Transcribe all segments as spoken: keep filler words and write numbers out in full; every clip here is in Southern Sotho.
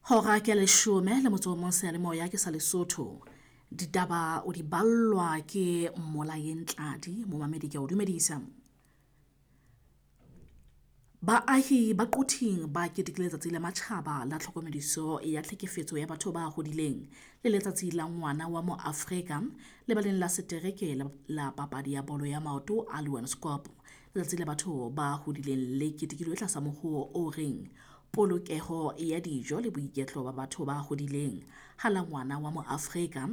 Hora ke leshome le motso o mong seyalemoya ke sa Lesotho. Ditaba o di ballwa ke Mmolayeng Tladi, momamedi ke a o dumedisa. Baahi ba Quthing ba ketekile letsatsi la matjhaba la tlhokomediso ya tlhekefetso ya batho ba hodileng le letsatsi la ngwana wa mo Afrika lebaleng la setereke la papadi ya bolo ya maoto a Leeuwenskop. Letsatsi la batho ba hodileng le ketekilwe tlasa mohoo o reng polokeho ya dijo le boiketlo ba batho ba hodileng. Ha la ngwana wa mo Afrika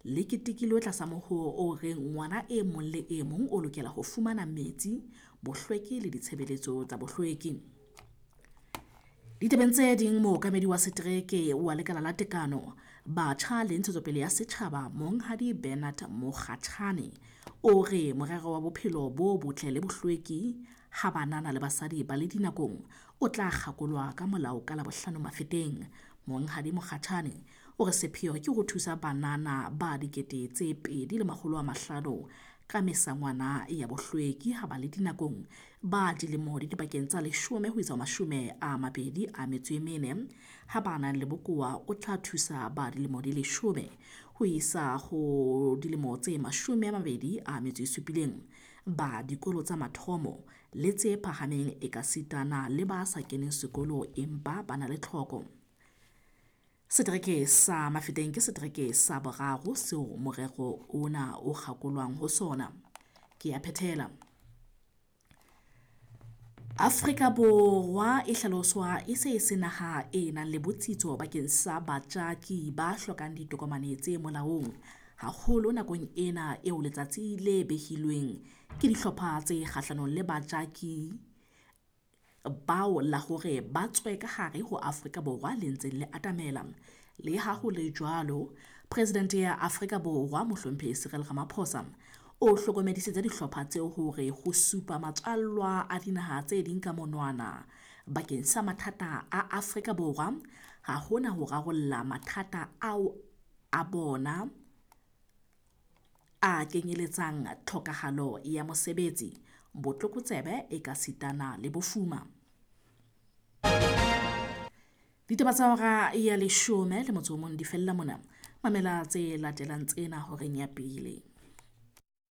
le ketekilwe tlasa mohoo o reng ngwana e mong le e mong o lokela ho fumana metsi, bohlweki le ditshebeletso tsa bohlweki. Ditabeng tse ding, mookamedi wa setereke wa lekala la tekano, batjha le ntshetsopele ya setjhaba Monghadi Bernard Mokgatjhane o re morero wa bophelo bo botle le bohlweki ha banana le basadi ba le dinakong o tla kgakolwa ka molao ka Labohlano Mafeteng. Monghadi Mokgatjhane o re sepheo ke ho thusa banana ba dikete tse pedi le makgolo a mahlano ka mesangwana ya bohlweki ha ba le dinakong ba dilemo di dipakeng tsa leshome ho isa mashome a mabedi a metso e mene. Ha ba nang le bokowa o tla thusa ba dilemo di leshome ho isa ho dilemo tse mashome a mabedi a metso e supileng, ba dikolo tsa mathomo le tse phahameng ekasitana le ba sa keneng sekolo empa ba na le tlhoko. Setereke sa Mafeteng ke setereke sa boraro seo morero ona o kgakolwang ho sona. Ke a phethela. Afrika Borwa e hlaloswa e se e se naha e nang le botsitso bakeng sa batjaki ba hlokang ditokomane tse molaong, haholo nakong ena eo letsatsi le behilweng ke dihlopha tse kgahlanong le batjaki bao la hore ba tswe ka hare ho Afrika Borwa le ntseng le atamela. Le ha ho le jwalo, Presidente ya Afrika Borwa Mohlomphehi Cyril Ramaphosa o hlokomedisitse dihlopha tseo hore ho supa matswallwa a dinaha tse ding ka monwana bakeng sa mathata a Afrika Borwa ha hona ho rarolla mathata ao a bona a kenyeletsang tlhokahalo ya mosebetsi, botlokotsebe ekasitana le bofuma. Ditaba tsa hora ya leshome le motso o mong di fella mona. Mamela tse latelang tsena horeng ya pele.